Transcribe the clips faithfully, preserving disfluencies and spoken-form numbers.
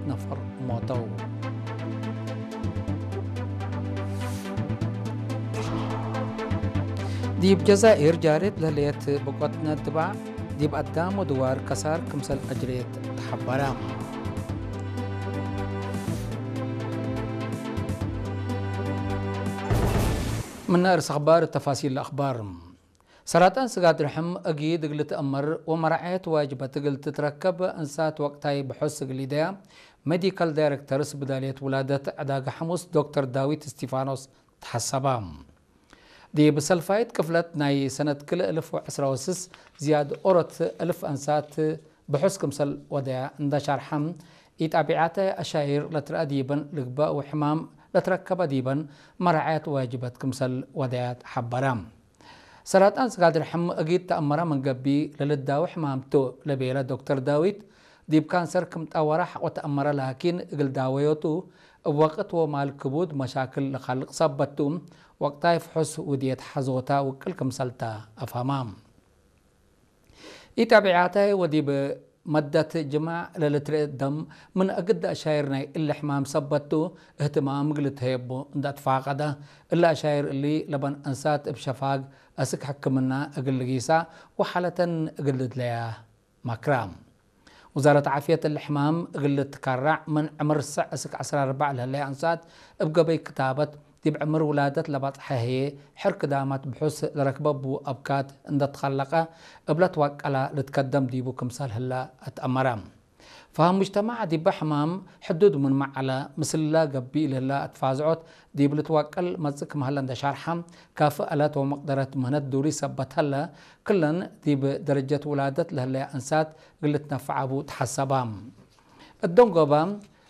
ነፈር ሞተው። ዲብ ጀዛይር ጃሬት ለህሌት ብቆት ነድባዕ፣ ዲብ አዳም ወድዋር ከሳር ክምሰል አጅሬት ተሐበረ። ምነ እርስ አኽባር ተፋሲል ለአኽባር። ሰራጣን ስጋድ ርሕም እጊድ እግል ትአመር ወመራዐየት ዋጅበት እግል ትትረከብ እንሳት ወቅታይ ብሖስ እግል ኢደያ ሜዲካል ዳይሬክተርስ ብዳልየት ውላደት ዕዳገ ሐሙስ ዶክተር ዳዊት እስቲፋኖስ ተሐሰባ። ዲብ ሰልፋይት ቅፍለት ናይ ሰነት ክልኤ እልፍ ወዕስራ ወስስ ዝያድ ኦሮት እልፍ አንሳት ብሑስ ክምሰል ወደያ እንደ ሻርሐ፣ ኢጣቢዓተ አሻይር ለትረአ ዲበን ልግበእ ወሕማም ለትረከበ ዲበን መራዐየት ዋጅበት ክምሰል ወደያ ተሐበረ። ሰራጣን ስጋድ ርሕም እጊድ ተአመረ ምን ገብእ ለልዳወ ሕማም ቱ ለቤለ ዶክተር ዳዊት፣ ዲብ ካንሰር ክም ጠወረ ሐቆ ተአመረ ላኪን እግል ዳወዮቱ እብ ወቅት ወማል ክቡድ መሻክል ለካልቅ ሰበት ቱ፣ ወቅታይ ፍሑስ ውድየት ሐዞታ ውቅል ክምሰል ተ አፍሀማ። ኢጣቢዓተ ወዲብ መደት ጅማዕ ለልትርኤ ደም ምን እግድ አሻይር ናይ እሊ ሕማም ሰበት ቱ እህትማም እግል ትሀየቡ እንደ አትፋቀደ፣ እሊ አሻይር እሊ ለበን አንሳት እብ ሸፋግ አስክ ሕክምና እግል ልጊሳ ወሓለተን እግል ልድለያ መክራ። ውዛረት ዓፍየት እሊ ሕማም እግል ልትከራዕ ምን ዕምር ሰዕ እስክ ዐስራ አርበዕ ለህለየ አንሳት እብ ገበይ ክታበት ዲብ ዕምር ውላደት ለባጽሐ ህዬ፣ ሕር ክዳማት ብሑስ ለረክበ እቡ አብካት እንደ ትከለቀ፣ እብለ ትዋቀላ ልትከደም ዲቡ ክምሰል ህለ አትአመረ። ፈሀም ሙጅተማዕ ዲበ ሕማም ሕዱድ ምንመ ዐለ፣ ምስለ ገብእ ለህለ አትፋዝዖት ዲብ ልትዋቀል መጽእ ክም ሀለ እንደ ሻርሐ፣ ካፍእ አለት ወመቅደረት ምህነት ዱሪ ሰበት ሀለ፣ ክለን ዲብ ደረጀት ውላደት ለህለየ አንሳት እግል ልትነፈዕ አቡ ተሐሰባ። እት ደንጎበ፣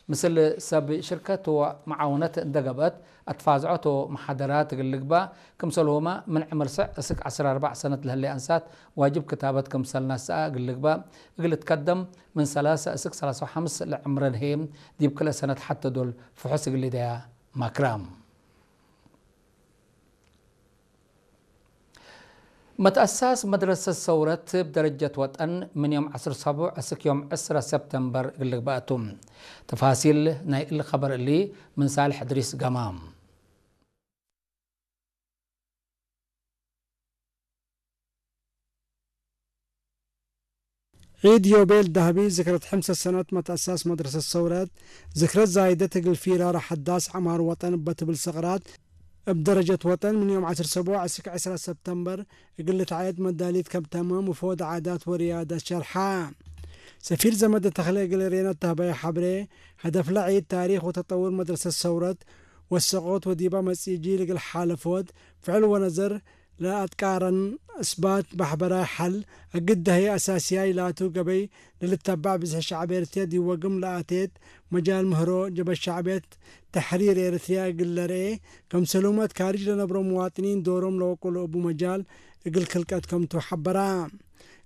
ምስል ሰብ ሽርከት ወመዓውነት እንደ ገብአት፣ አትፋዝዖት ወመሓደራት እግል ልግበእ፣ ክምሰልሁመ ምን ዕምር ሰዕ እስክ ዐስራ አርበዕ ሰነት ለህሌ አንሳት ዋጅብ ክታበት ክምሰል ነስአ እግል ልግበእ፣ እግል ልትከደም ምን ሰላሰ እስክ ሰላሰ ወሐምስ ለዕምረን ህዬ፣ ዲብ ክልኤ ሰነት ሐቴ ዶል ፍሑስ እግል ልደያ መክረ። መትአሳስ መድረሰት ሰውረት እብ ደረጀት ወጠን ምን ዮም ዐስር ሰቡዕ እስክ ዮም ዕስረ ሰብተምበር እግል ልግበእ ቱ። ተፋሲል ናይ እሊ ኸበር እሊ ምን ሳልሕ እድሪስ ገማም። ዒድ ዮቤል ደሀቢ ዝክረት ሕምሰ ሰነት መትአሳስ መድረሰት ሰውረት፣ ዝክረት ዛይደት እግል ፊራር ሐዳስ ዐማር ወጠን እበ ትብል ሰቅራት፣ እብ ደረጀት ወጠን ምን ዮም ዐስር ሰቡዕ እስክ ዕስራ ሰብተምበር እግል ልትዐየድ መዳሊት ከም ተመ ሙፎድ ዓዳት ወርያደት ሸርሐ። ሰፊር ዘመደ ተክለ እግል ሬና ተህበየ ሐብሬ፣ ሀደፍለ ዒድ ታሪክ ወተጠውር መድረሰት ሰውረት ወሰቆት ወዲባ መጽኢ ጂል እግል ሓለፎት ፍዕል ወነዘር ለአትቃረን እስባት ማሕበራይ ሐል እግድ ደህየ አሳስያይ ላቱ ገበይ ለልተባዕ ብዝሕ ሸዕብ ኤርትርያ ዲብ ወግም ለአቴት መጃል ምህሮ ጀብሀት ሸዕብየት ተሕሪር ኤርትርያ እግል ለርኤ፣ ከምሰሉመት ካርጅ ለነብሮ ሙዋጥኒን ዶሮም ለወቅሎ እቡ መጃል እግል ክልቀት ከምቱ ሐበራ።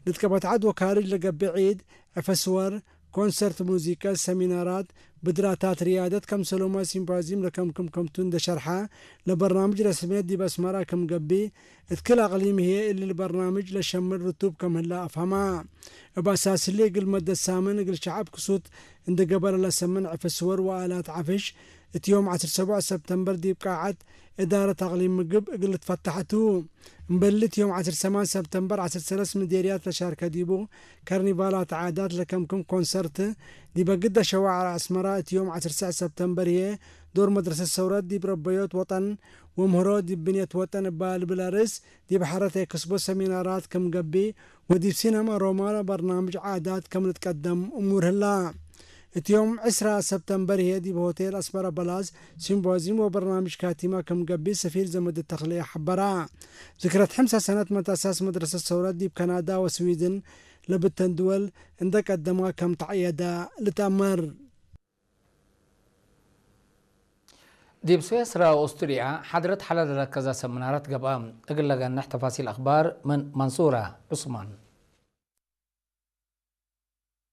ልትቀበት ዐድ ወካርጅ ለገብእ ዒድ፣ ዕፈ ስወር፣ ኮንሰርት ሙዚቀ፣ ሰሚናራት፣ ብድራታት ርያደት ከምሰሉመ ሲምፖዚም ለከምክም ከምቱ እንደ ሸርሐ፣ ለበርናምጅ ረስምየት ዲብ አስመራ ክም ገብእ፣ እት ክል አቅሊም ህዬ እሊ ለበርናምጅ ለሸምል ርቱብ ከም ህለ አፍሀማ። እብ አሳስሊ እግል መደት ሳምን እግል ሸዐብ ክሱት እንደ ገበረ ለሰምን ዕፈ ስወር ወአላት ዐፍሽ፣ እት ዮም ዐስር ሰቡዕ ሰብተምበር ዲብ ቃዐት እዳረት አቅሊም ምግብ እግል ልትፈተሐ ቱ። እምበል እት ዮም ዐስር ሰማን ሰብተምበር ዐስር ሰለስ ምዴርያት ለሻርከ ዲቡ፣ ከርኒቫላት ዓዳት ለከምክም ኮንሰርት፣ ዲበ ግደ ሸዋዕር አስመራ እት ዮም ዐስር ሰዕ ሰብተምበር ህዬ፣ ዶር መድረሰት ሰውረት ዲብ ረበዮት ወጠን ወምህሮ ዲብ ብንየት ወጠን እባ ልብል አርእስ፣ ዲብ ሐረት ኤክስቦ ሰሚናራት ክም ገብእ፣ ወዲብ ሲነማ ሮማ በርናምጅ ዓዳት ከም ልትቀደም እሙር ህላ። እት ዮም ዕስራ ሰብተምበር ህዬ ዲብ ሆቴል አስመራ በላስ ሲምፖዚም ወበርናምጅ ካቲማ ክም ገብእ ሰፊር ዘመድ ተክልየ ሐበራ። ዝክረት ሕምሰ ሰነት መትአሳስ መድረሰት ሰውረት ዲብ ከናዳ ወስዊድን ለብተን ድወል እንደ ቀደማ ከም ተዐየደ ልትአመር። ዲብ ስዌስራ ወኦስትርያ ሓድረት ሐለ ለረከዘ ሰምናራት ገብአ። እግል ለገንሕ ተፋሲል አኽባር ምን መንሱራ ዑስማን።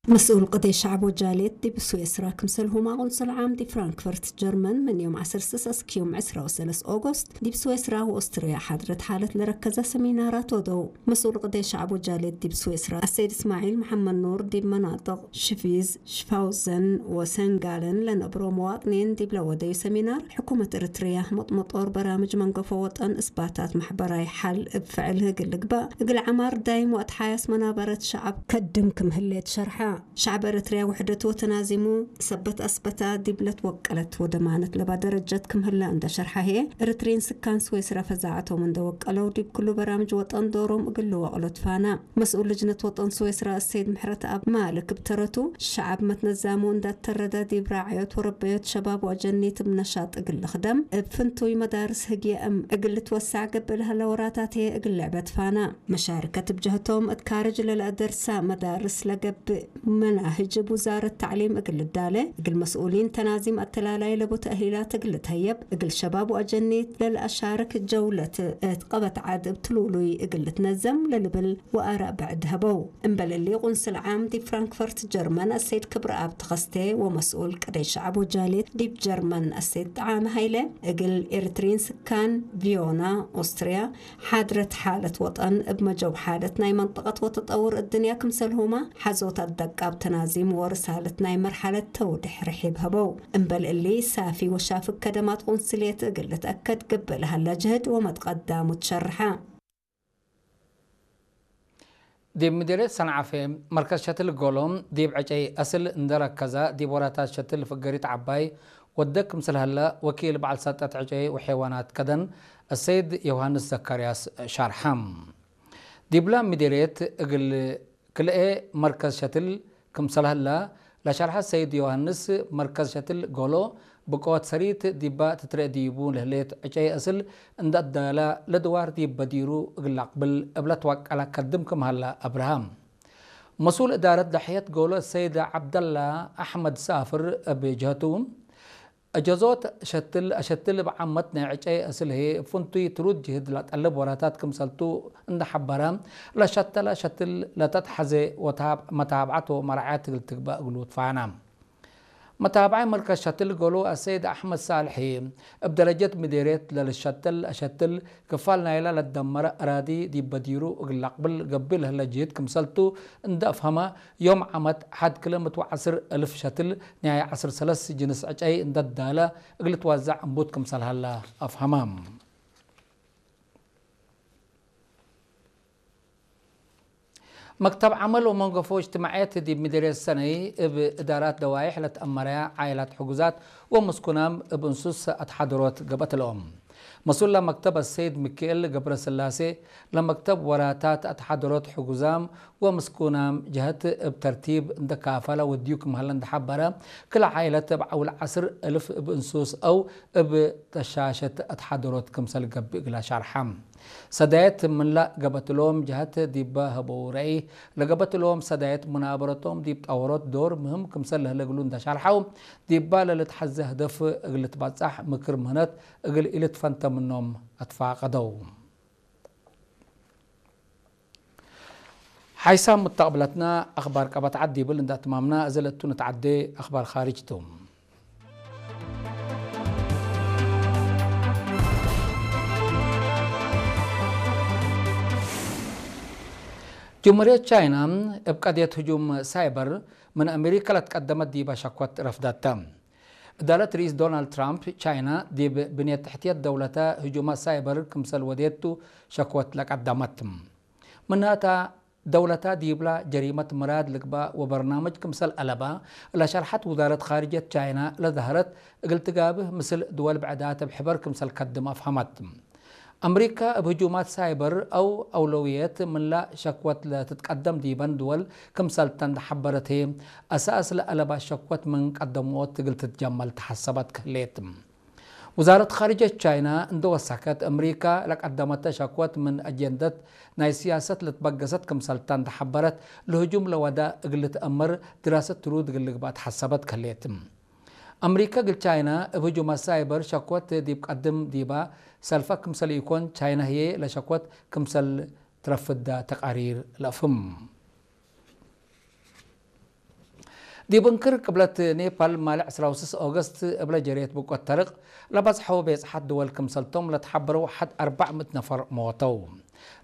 መስኡል ቅዴ ሸዕብ ወጃልየት ዲብ ስዌስራ፣ ክምሰልሁማ ቁንስል ዓም ዲብ ፍራንክፈርት ጀርመን፣ ምን ዮም ዐስር ስስ እስክ ዮም ዕስራ ወሰለስ ኦጎስት፣ ዲብ ስዌስራ ወኦስትርያ ሓድረት ሓለት ለረከዘ ሰሚናራት ወደው። መስኡል ቅዴ ሸዕብ ወጃልየት ዲብ ስዌስራ፣ አሰይድ እስማዒል መሐመድ ኑር፣ ዲብ መናጥቅ ሽቪዝ፣ ሽፋውዘን ወሰንጋለን ለነብሮ መዋጥኒን ዲብ ለወደዩ ሰሚናር፣ ሕኩመት ኤረትርያ መጥመጦር በራምጅ መንገፎ ወጠን እስባታት መሕበራይ ሐል እብ ፍዕል ህግል ልግባእ፣ እግል ዐማር ዳይም ወአትሓያስ መናበረት ሸዐብ ከድም ክም ህሌት ሸርሐ። ሸዐብ ኤረትርያ ውሕደቱ ወተናዚሙ ሰበት አስበታ ዲብ ለትወቀለት ወደማነት ለባ ደረጀት ክም ህለ እንደ ሸርሐ ህዬ፣ ኤረትርይን ስካን ስዌስራ ፈዛዐቶም እንደ ወቀለው ዲብ ክሉ በራምጅ ወጠን ዶሮም እግል ልወቅሎ ትፋና። መስኡል ልጅነት ወጠን ስዌስራ እሰይድ ምሕረተአብ ማልክ እብ ተረቱ፣ ሸዐብ መትነዛሙ እንዳተረደ ዲብ ራዕዮት ወረበዮት ሸባብ ወአጀኒት እብ ነሻጥ እግል ልክደም፣ እብ ፍንቱይ መዳርስ ህግየ እም እግል ልትወሳዕ ገብእ ለሀለ ወራታት ህዬ እግል ልዕበ ትፋና። መሻርከት እብ ጀህቶም እት ካርጅ ለለአደርሳ መዳርስ ለገብእ መናህጅ እብ ውዛረት ተዕሊም እግል ልዳለ፣ እግል መስኡሊን ተናዚም አተላላይ ለቡ ተእሂላት እግል ልትሀየብ፣ እግል ሸባብ ወአጀኒት ለለአሻርክ ጀውለት እት ቀበት ዐድ እብ ትሉሉይ እግል ልትነዘም ለልብል ወአራእ ብዕድ ሀበው። እምበል እሊ፣ ቁንስል ዓም ዲብ ፍራንክፈርት ጀርመን አሰይድ ክብረአብ ተኸስቴ ወመስኡል ቅደይ ሸዐብ ወጃልየት ዲብ ጀርመን አሰይድ ጠዓመ ሀይለ፣ እግል ኤረትርይን ስካን ቪዮና ኦስትርያ፣ ሓድረት ሓለት ወጠን እብ መጀው ሓለት ናይ መንጠቀት ወተጠውር እድንያ ክምሰልሁመ፣ ሐዞት አደቃብ ተናዚም ወርሳለት ናይ መርሐለት ተውዴሕ ርሒብ ሀበው። እምበል እሊ፣ ሳፊ ወሻፍግ ከደማት ቁንስልየት እግል ልትአከድ ገብእ ለሀለ ጅህድ ወመትቀዳሙ ትሸርሐ። ዲብ ምዴርየት ሰንዓፈ፣ መርከዝ ሸትል ጎሎ፣ ዲብ ዕጨይ አስል እንደ ረከዘ፣ ዲብ ወራታት ሸትል ፍገሪት ዐባይ ወደ ክምሰል ሀለ፣ ወኪል በዐል ሰልጠት ዕጨይ ወሐይዋናት ከደን፣ አሰይድ ዮሃንስ ዘካርያስ ሻርሐ። ዲብለ ምዴርየት እግል ክልኤ መርከዝ ሸትል ክምሰል ሀለ ለሸርሐ ሰይድ ዮሐንስ፣ መርከዝ ሸትል ጎሎ ብቆት ሰሪት ዲባ ትትረኤ ዲቡ ለህሌት ዕጨይ አስል እንደ አዳላ ለድዋር ዲብ በዲሩ እግል ለአቅብል እብ ለትወቀለ ከድም ክም ሀለ አብርሃ። መስኡል እዳረት ደሕየት ጎሎ ሰይድ ዐብደላ አሕመድ ሳፍር እብ ጀህቱ፣ እጀዞት ሸትል አሸትል እብ ዓመት ናይ ዕጨይ አስል ህዬ፣ እብ ፍንቱይ ትሩድ ጅህድ ለጠልብ ወራታት ክምሰልቱ እንደ ሐበረ፣ ለሸተለ ሸትል ለተትሐዜ ወተሃብ-፣ መታብዐት ወመራዐየት እግል ትግበእ እግሉ ትፋና። መታብዐይ መርከዝ ሸትል ጎሎ አሰይድ አሕመድ ሳልሕ ህዬ፣ እብ ደረጀት ምዴርየት ለልሸተል አሸትል ክፋል ናይለ ለትደመረ አራዲ ዲብ በዲሩ እግል ለአቅብል ገብእ ለህለ ጅህድ ክምሰልቱ እንደ አፍሀመ፣ ዮም ዓመት ሐድ ክልኤ ምእት ወዐስር እልፍ ሸትል ናይ ዐስር ሰለስ ጅንስ ዕጨይ እንደ ዳለ እግል ልትወዘዕ እንቡት ክምሰል ሀለ አፍሀመ። መክተብ ዐመል ወመንገፎ እጅትማዕየት ዲብ ምዴርየት ሰነይ እብ እዳራት ደዋይሕ ለትአመረያ ዓኢላት ሕጉዛት ወምስኩናም እብ እንሱስ አትሓደሮት ገብአት እሎም። መስኡል ለመክተብ አሰይድ ሚካኤል ገብረስላሴ፣ ለመክተብ ወራታት አትሓደሮት ሕጉዛም ወምስኩናም ጀህት እብ ተርቲብ እንደ ካፈለ ወድዩ ክም ሀለ እንደ ሐበረ፣ ክለ ዓኢለት እብ ዐውል ዐስር እልፍ እብ እንሱስ አው እብ ተሻሸት አትሓደሮት ክምሰል ገብእ እግለ ሻርሐ። ሰዳየት ምንላ ገብአት እሎም ጀህት ዲበ ሀበው ረአይ፣ ለገብአት እሎም ሰዳየት ሙናበረቶም ዲብ ጠወሮት ዶር ምህም ክምሰል ለህለ እግሉ እንደ ሻርሐው፣ ዲባ ለልትሐዜ ህደፍ እግል ልትበጻሕ ምክር ምህነት እግል ኢልትፈንተ ምኖም አትፋቀደው። ሓይሳም ሙተቅብለትና አክባር ቀበት ዐድ ዲብል እንደ አትማምና፣ እዘ ለቱ ንትዓዴ አክባር ካርጅ ቱ። ጅምሁርየት ቻይና እብ ቀድየት ህጁም ሳይበር ምን አሜሪከ ለትቀደመት ዲበ ሸኮት ረፍደተ። እዳለት ርኢስ ዶናልድ ትራምፕ፣ ቻይና ዲብ ብንየት ተሕትየት ደውለተ ህጁማት ሳይበር ክምሰል ወዴቱ ሸኮት ለቀደመት። ምናተ፣ ደውለተ ዲብላ ጀሪመት ምራድ ልግባእ ወበርናምጅ ክምሰል አለባ ለሸርሐት ውዛረት ካርጅየት ቻይና ለዘሀረት፣ እግል ትጋብህ ምስል ድወል ብዕዳት እብ ሕበር ክምሰል ከድም አፍሀመት። አምሪካ እብ ህጁማት ሳይበር አው አውለውየት ምንላ ሸክወት ለትትቀደም ዲበን ድወል ክምሰልተን ለሐበረት ህዬ፣ አሳስ ለአለባት ሸክወት ምን ቀደምዎት እግል ትትጀመል ተሐሰበት ከህሌት። ውዛረት ካርጀት ቻይና እንደ ወሰከት፣ አምሪካ ለቀደመተ ሸክወት ምን አጀንደት ናይ ስያሰት ለትበገሰት ክምሰልታ እንደ ሐበረት፣ ለህጁም ለወዳ እግል ልትአመር ድራሰት ትሩድ እግል ልግባእ ተሐሰበት ከህሌት። አምሪካ እግል ቻይና እብ ህጁማት ሳይበር ሸክወት ዲብ ቀድም ዲባ ሰልፈ ክምሰል ኢኮን፣ ቻይና ህዬ ለሸክወት ክምሰል ትረፍዳ ተቃሪር ለአፍህም። ዲብ እንክር ቅብለት ኔፓል፣ ማሌ ዕስራ ወስስ ኦገስት እብለ ጀሬት ብቆት ተርቅ ለበጽሐው ቤጽሐት ድወል ክምሰልቶም ለተሐበረው ሐድ አርበዕ ምእት ነፈር ሞተው።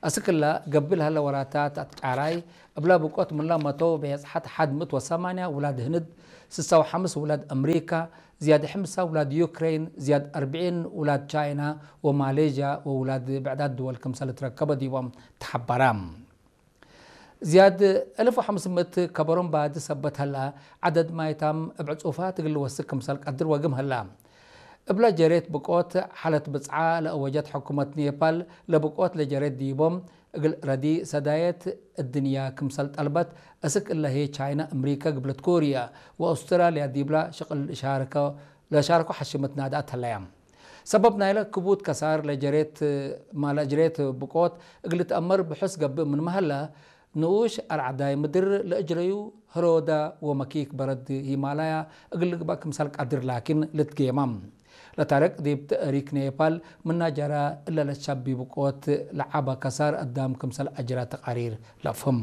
አስክላ ገብእ ለሀለ ወራታት አትጫራይ እብለ ብቆት ምንለ መተው ቤጽሐት ሐድ ምእት ወሰማንያ ውላድ ህንድ፣ ስሳ ወሐምስ ውላድ አምሪካ፣ ዝያድ ሕምሳ ውላድ ዩክሬን፣ ዝያድ አርብዒን ውላድ ቻይና ወማሌዥያ ወውላድ ብዕዳት ድወል ክምሰል ትረከበ ዲቦም ተሐበረ። ዝያድ አልፍ ወሐምስ ምእት ከበሮም ባዲ ሰበት ሀላ፣ ዐደድ ማይታም እብ ዕጹፋት እግል ልወስክ ክምሰል ቀድር ወግም ሀላ። እብለ ጀሬት ብቆት ሐለት ብጽዓ ለአወጀት ሕኩመት ኔፓል፣ ለብቆት ለጀሬት ዲቦም እግል ረዲ ሰዳየት እድንያ ክምሰል ጠልበት፣ አስክ እለ ህዬ ቻይና፣ አምሪከ፣ ግብለት ኮርየ ወአውስትራልያ ዲብላ ሽቅል ሻርከ፣ ለሻርከው ሐሽመት ናድአት ሀለያ። ሰበብ ናይለ ክቡድ ከሳር ለጀሬት፣ ማለ ጅሬት ብቆት እግል ልትአመር ብሑስ ገብእ ምንመ ሀለ፣ ንኡሽ አርዐዳይ ምድር ለእጅረዩ ህሮዳ ወመኪክ በረድ ሂማላያ እግል ልግበእ ክምሰል ቀድር ላኪን ልትጌመ። ለታርቅ ዲብ ተእሪክ ኔፓል ምና ጀራ እለ ለትሸቢ ብቆት ለዐበ ከሳር አዳም ክምሰል አጅረ ተቃሪር ለአፍህም።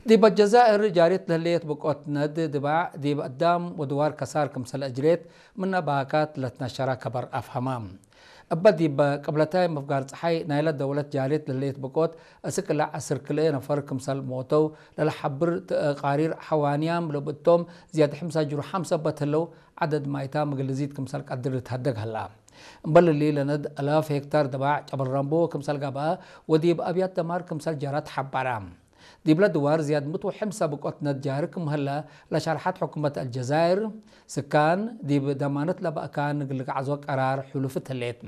ዲብ አልጀዛእር ጃሪት ለህሌት ብቆት ነድ ድባዕ ዲብ አዳም ወድዋር ከሳር ክምሰል አጅሬት ምነ ባካት ለትነሸረ ከበር አፍሀመ። እበ ዲብ ቅብለታይ ምፍጋር ጸሓይ ናይለ ደውለት ጃሪት ለህሌት ብቆት አስክ እለ ዐስር ክልኤ ነፈር ክምሰል ሞተው ለለሐብር ተቃሪር ሐዋንያም ለብእቶም ዝያድ ሕምሳ ጅሩሓም ሰበት ህለው ዐደድ ማይታም እግል ልዚድ ክምሰል ቀድር ልትሀደግ ሀላ። እምበል እሊ ለነድ አላፍ ሄክታር ድባዕ ጨበረንቦ ክምሰል ገብአ ወዲብ አብያት ደማር ክምሰል ጀረ ተሐበረ። ዲብለ ድዋር ዝያድ ምእት ወሐምሳ ብቆት ነድ ጃርክ ምህለ ለሸርሐት ሕኩመት አልጀዛይር፣ ስካን ዲብ ደማነት ለበእካን እግል ልግዓዞ ቀራር ሕሉፍት ህሌት።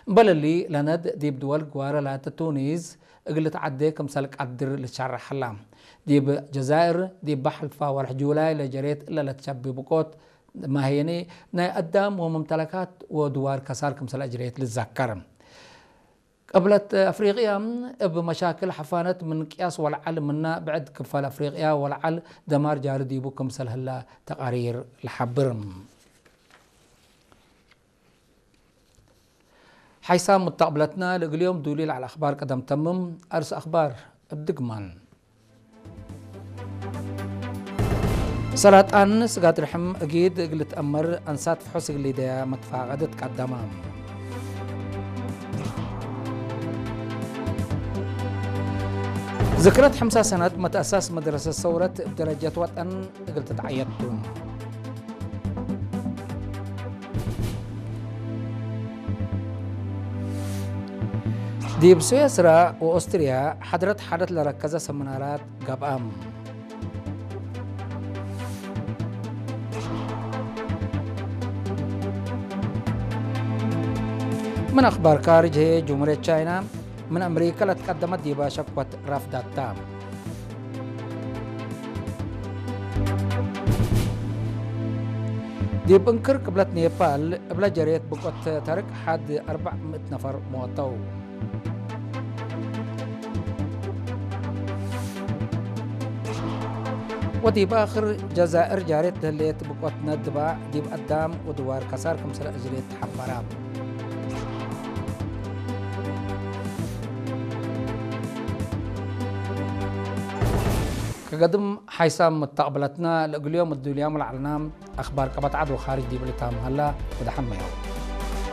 እምበል እሊ ለነድ ዲብ ድወል ግዋረ ላተ ቱኒዝ እግል ልትዐዴ ክምሰል ቀድር ልትሸረሕ ሀላ። ዲብ ጀዛይር ዲብ በሐልፋ ወርሕ ጁላይ ለጀሬት እለ ለትሸቢ ብቆት ማህየኒ ናይ አዳም ወመምተለካት ወድዋር ከሳር ክምሰል አጅሬት ልትዘከር። ቅብለት አፍሪቅያ እብ መሻክል ሐፋነት ምን ቅያስ ወለዐል ምና ብዕድ ክፋል አፍሪቅያ ወለዐል ደማር ጃሪ ዲቡ ክምሰል ህላ ተቃሪር ለሐብር። ሐይሳም ሙተቅብለትና ለእግል ዮም ዱሊ ለዐለ አኽባር ቀደም ተምም። አርስ አኽባር እብ ድግማን። ሰራጣን ስጋድ ርሕም እጊድ እግል ልትአመር አንሳት ፍሑስ እግል ሊደያ መትፋቀደት ቀደመ። ዝክረት ሐምሳ ሰነት መትአሳስ መድረሰት ሰውረት እብ ደረጀት ወጠን እግል ትትዐየድ ቱ። ዲብ ስዌስራ ወኦስትርያ ሐድረት ሐደት ለረከዘ ሰምናራት ገብአም። ምን አኽባር ካርጅ ህዬ፣ ጅምሁርየት ቻይና ምን አምሪከ ለትቀደመት ዲበ ሸክወት ረፍዳታ። ዲብ እንክር ቅብለት ኔፓል እብለ ጀሬት ብቆት ተርቅ ሐድ አርበዕ ምእት ነፈር ሞተው። ወዲብ አክር ጀዛእር ጃሬት ለህሌት ብቆት ነድባ ዲብ አዳም ወድዋር ከሳር ክምሰል አጅሬት ተሐበራ። ከገድም ሓይሳም መተቅብለትና ለእግልዮም እዱልያም ለዐልና አኽባር ቀበት ዐድ ወኻርጅ ዲብ ልታም ሀላ ወደሐመዮ።